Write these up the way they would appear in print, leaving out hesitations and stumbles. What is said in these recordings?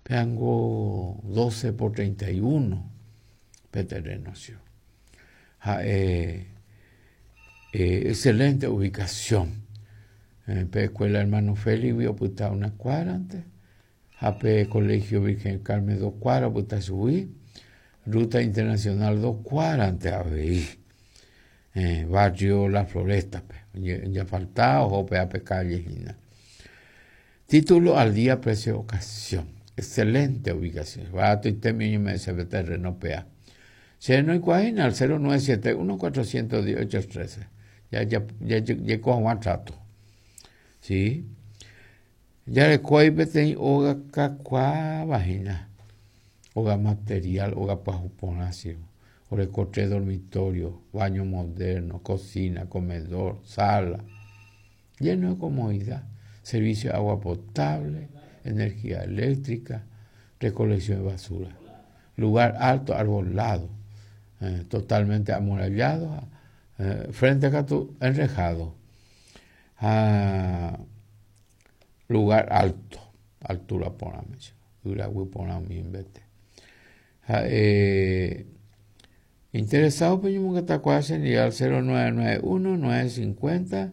Péango 12 por 31 pe terreno che. Ha'e excelente ubicación. Pe escuela hermano Félix-gui opyta una cuadra-nte ha pe colegio Virgen del Carmen dos cuadras opyta chugui, ruta internacional dos cuadra-nte avei. Barrio La Floresta-pe, ojafalta oho péva pe calle hína. Título al día precio ocasión. Excelente ubicación. Baratoitémi oñeme'ẽ chéve terreno péa. Che noikuaáina al 0971 410 813. Ya, ya, ya, jaiko hag̃ua trato. Sí. Jareko aí peteĩ óga kakuaáva hína. Óga material, óga pyahu porã che. Oreko tres dormitorio, baño moderno, cocina, comedor, sala. Lleno de comodidad, servicio de agua potable, energía eléctrica, recolección de basura. Lugar alto, arbolado, eh, totalmente amurallado, eh, frente katu enrejado. Ha lugar alto, altura porãme, yraguy porã umi mbete. Ha'e interesado peñomongetakuaa chendive al 0991 950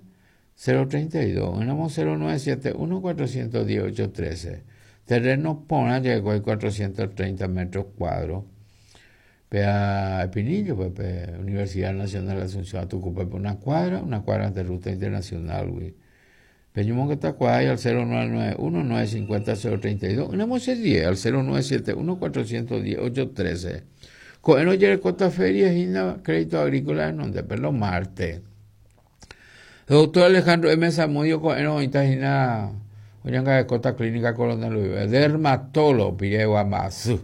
032, oĩramo 0971 410 813. Terreno porã ja'ekuaa 430 metros cuadros. Péa Espinillo-pe, pe Universidad Nacional de Asunción Atucupe-pe una cuadra, una cuadra ante ruta internacional-gui. Peñomongetakuaái al 0991 950 032, oĩramo che die al 0971 410 813. Ko'ẽrõ ojerekóta feria hína Crédito Agrícola renondépe los martes. Doctor Alejandro M. Zamudio ko'ẽrõ oĩta hína oñangarekóta Clínica Coronel Ruiz, dermatólogo piregua mba'asy.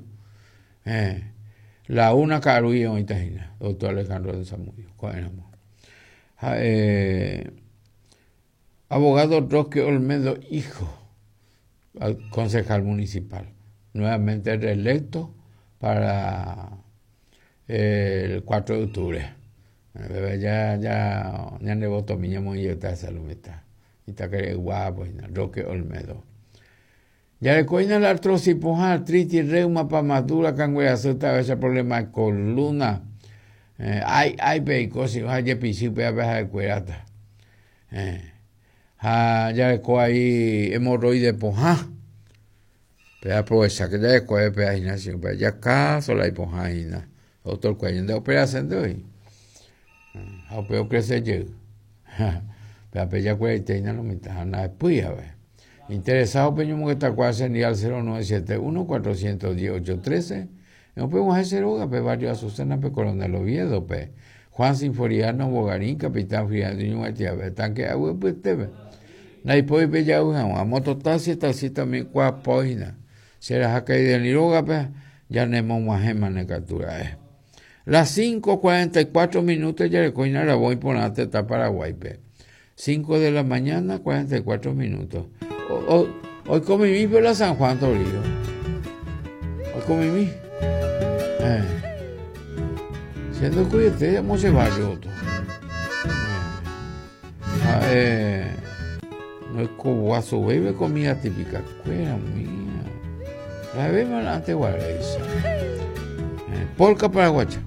Eh, la una ka'arúi oĩta hína doctor Alejandro M. Zamudio ko'ẽramo. Ha'e abogado Roque Olmedo hijo, concejal municipal, nuevamente reelecto para el 4 de octubre. Bebé ya ya ñande votomi ñamoĩ jeýta hese lo mitã. Itakere'y guapo hína, Roque Olmedo. Jareko hína la artrosis pohã, artritis, reuma, pamadura, kangue asy, tavecha problema de columna. Eh, ái, ái pe eiko ha jepichy pévape ha'ekuérata. Eh, ha jareko ahí hemorroide pohã. Pe aprovecha que jareko pe hína che pe jaka sola ipohã hína. Doctor kuéra ñande operación oĩ. Ha upe ocrece jey. Pévape jakueraite hína lo mitã ha ndahepýi ave. Interesado peñomongetakuaa che ndive al 0971 410 813 upe og̃uahẽ che rógape barrio Azucena pe Coronel Oviedo-pe. Juan Sinforiano Bogarín, Capitán Friando ñug̃uaitĩave, tanque agui ypytépe. Ndaipói pejavy hag̃ua. Mototaxi, taxista umi kuaapo hína. Che raha Kaideli rógape janemog̃uahẽmane katu ra'e. Las 5:44 minutos jareko hína ravo iporã tetã Paraguáipe. 5 de la mañana, 44 minutos. Oiko mimi pe la San Juan Toribio. Oiko mimi. Eh. Siendo cuyete, amo ese barrio otro. Eh. Eh. No es guaso bebe comida típica. Cuera mía. La bebe antes guareisa. Eh, polka paraguaya.